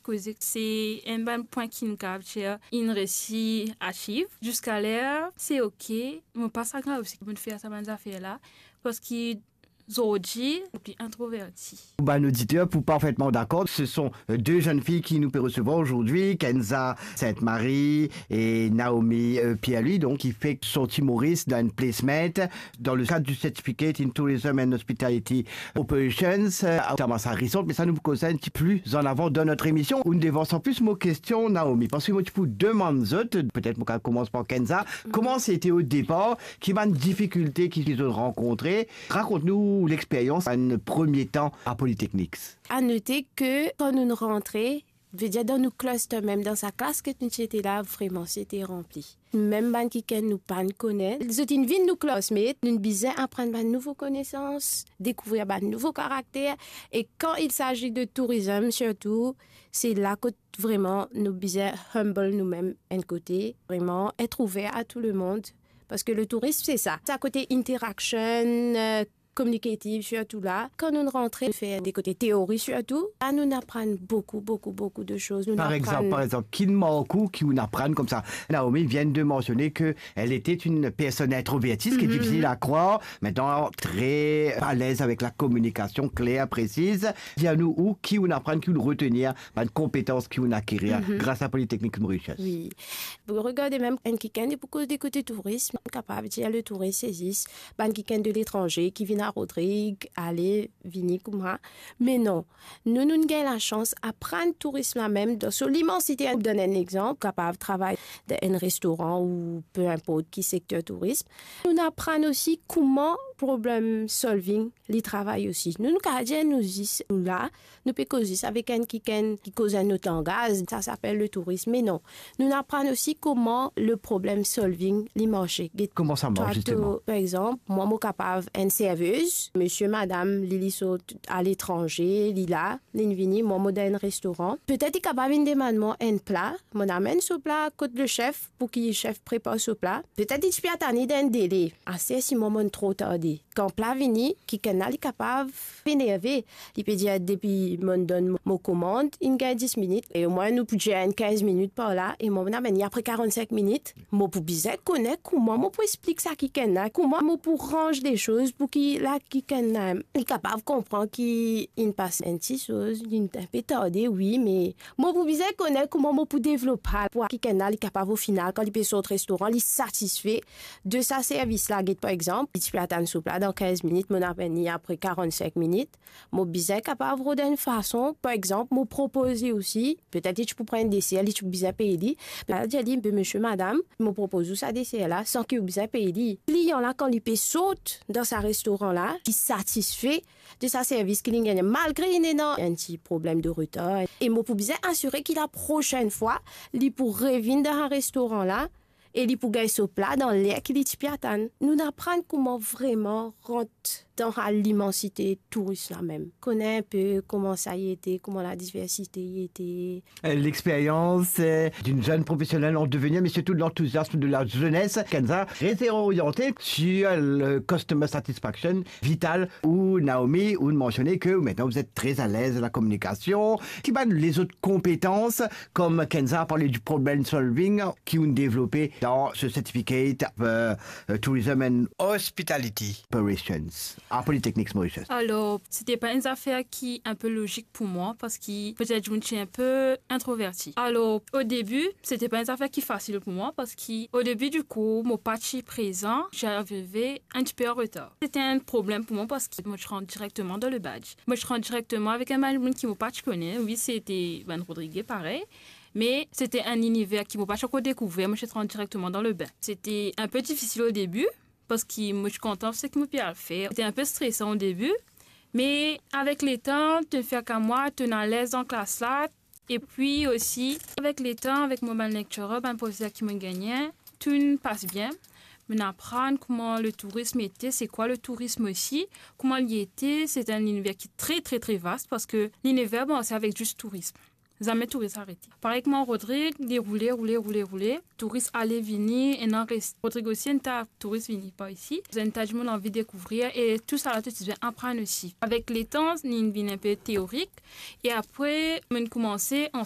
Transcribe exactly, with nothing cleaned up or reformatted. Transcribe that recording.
koze se enn bann pwin ki nou kapav dir inn resi achieve. Ziska ler, se ok, mo pa sa grav si mo fer sa bann zafer la, parski zordi, pli introverti. Pou bann oditer, pou parfetman dakor, ce sont, euh, deux jeunes filles ki nou pe resevwar azordi, Kenza Sainte-Marie e Naomi, euh, Pierre-Louis, donk, ki fek sorti Moris dan enn placement dans le cadre du Certificate in Tourism and Hospitality Operations, euh, à Thomas Harrison, me sa nou pou koz enn ti pli an avan dan notre émission. Ou devan san plis mo kestion, Naomi, parski mo ti pou demann zot, petet mo kav koumans par Kenza, kouma se ete o depar, ki bann difikilte ki, ki zot rankontre, Rakont nou lexperyans enn premie tan a Polytechnics. A note ke kan nou rantre, vedir dan nou cluster mem, dan sa klas ki nou ti ete la, vreman, se ete ranpli. Mem bann kikenn nou pa'nn kone, zot inn vinn nou classmate, nou bizin aprann bann nouvo konesans, dekouvrir bann nouvo karakter, e kan il s'agit de tourism sirtou, se la kot vreman nou bizin humble noumem enn kote, vreman et ouver a tou lemond, parski le tourism, se sa. Sa kote interaction, euh, communicative sirtou la. Kan nou rantre fer de kote teori sirtou, la nou aprann boukou, boukou, boukou de soz. Nou Par aprann exanp, par exanp, ki mark ou ki ou aprann koumsa? Naomi vient de mentionner que elle était une personne introvertie, ce qui est Mhm. difficile à croire, maintenant très à l'aise avec la communication claire, précise. Dir nou ou ki ou aprann, ki ou retenir, bann konpetans ki ou akirir Mhm. gras a Polytechnics Mauritius. Wi. Pou regarde mem enn kikenn, pou koz de kote tourism, kapav dir le tourism se zis bann kikenn de letranze ki vinn a Rodrig, ale, vini kouma. Me non, nou, nou gagn lasans aprann tourism la mem dan so limansite. Donn enn exanp, kapav travay dan enn restoran ou peu importe ki sekter tourism. Nou aprann osi kouma problem solving li travay osi. Nou, nou kapav dir nou zis, nou la, nou pe koz zis avek enn kikenn ki koz enn lot langaz, sa, sa apel le tourism. Me non, nou aprann osi kouma le problem solving li marse. Get Comment ça marche, twa, justement? To, par exanp, mwa, mo kapav enn servez, misie, madam, li, li sort aletranze, li la, linn vini, mwa, mo dan enn restoran. Petet li kapav vinn demann mwa enn pla, mo amenn so pla kot le sef, pou ki sef prepar so pla. Petet li ti pe atann li dan enn dele. Aster si mwa, mo'nn tro tarde. Kan pla vini, kikenn la, li kapav enerve. Li pe dir, depi mo'nn donn mo, mo komand, inn gagn dis minit. E omwin nou pou dir enn kinz minit par la, e mwa, mo'nn amenn li apre karannsenk minit. Mo pou bizin kone kouma mo pou explik sa kikenn la, kouma mo pou ranz de soz pou ki la kikenn la, li kapav konpran ki inn pas enn ti soz, li inn pe tarde, wi, me mo pou bizin kone kouma mo pou devlop sa, pou kikenn la, li kapav, o final, kan li pe sort restoran, li satisfe de sa servis la. Get, par exanp, li ti pe atann so pla dan kinz minit, mo'nn amenn li apre karannsenk minit. Mo bizin kapav rod enn fason, par exanp, mo propoze osi, petet li ti pou pran enn deser, li ti pou bizin pey li. La, dir li, be misie, madam, mo propoz ou sa deser la, san ki ou bizin pey li. Klian la, kan li pe sort dan sa restoran la, li satisfe de sa servis ki linn gagne, malgre linn ena enn ti problem de retar. E mo pou bizin asire ki la prosenn fwa, li pou revinn dan sa restoran la, e li pou gagn so pla dan ler ki li ti pe atann. Nou aprann kouma vreman rant dan sa limansite tourism la mem. Kone enn pe kouma sa i ete, kouma la diversite i ete. Euh, l'expérience, euh, d'une jeune professionnelle en devenir, mais surtout l'enthousiasme de la jeunesse. Kenza, très orientée sur le customer satisfaction, vital ou Naomi, ou mentionner que maintenant vous êtes très à l'aise à la communication. Ki bann lezot konpetans, comme Kenza a parlé du problem solving, ki ou'nn devlope dan ce certificate, euh, euh, Tourism and Hospitality Operations à Polytechnics Mauritius? Alor, se ti pa enn zafer ki enn pe lozik pou mwa, parski petet mo ti enn pe introverti. Alor, o debi, se ti pa enn zafer ki fasil pou mwa, parski o debi, dikou, mo pa ti prezan, ti arive enn tipe an retar. Se ti enn problem pou mwa, parski mo ti rant direkteman dan le badge. Mo ti rant direkteman avek enn bann moun ki mo pa ti kone. Wi, se ti bann Rodrige parey, me se ti enn liniver ki mo pa ti ankor dekouver. Mo ti rant direkteman dan le bain. Se ti enn pe difisil o debi, parski mo ti kontan seki mo pe al fer. Se ti enn pe stresan o debi, me avek letan, to'nn fer ek mwa, to'nn alez dan klas la, epi osi, avek letan, avek mo bann lecturer, bann profeser ki mo gagne, to'nn pas bien. Mo'nn aprann kouma le tourism ete, se kwa le tourism osi, kouma li ete. Se enn liniver ki tre, tre, tre vas, parski liniver, bon, se avek zis tourism. Zame touris arete. Parey kouma Rodrig, li roule, roule, roule, roule. Touris ale vini, ena res-, Rodrig osi, enn ta touris vini par isi. Enn ta dimoun anvi dekouvrir e tou sa la, to ti bizin aprann osi. Avek letan, linn vinn enn pe teorik e apre, mo'nn koumanse an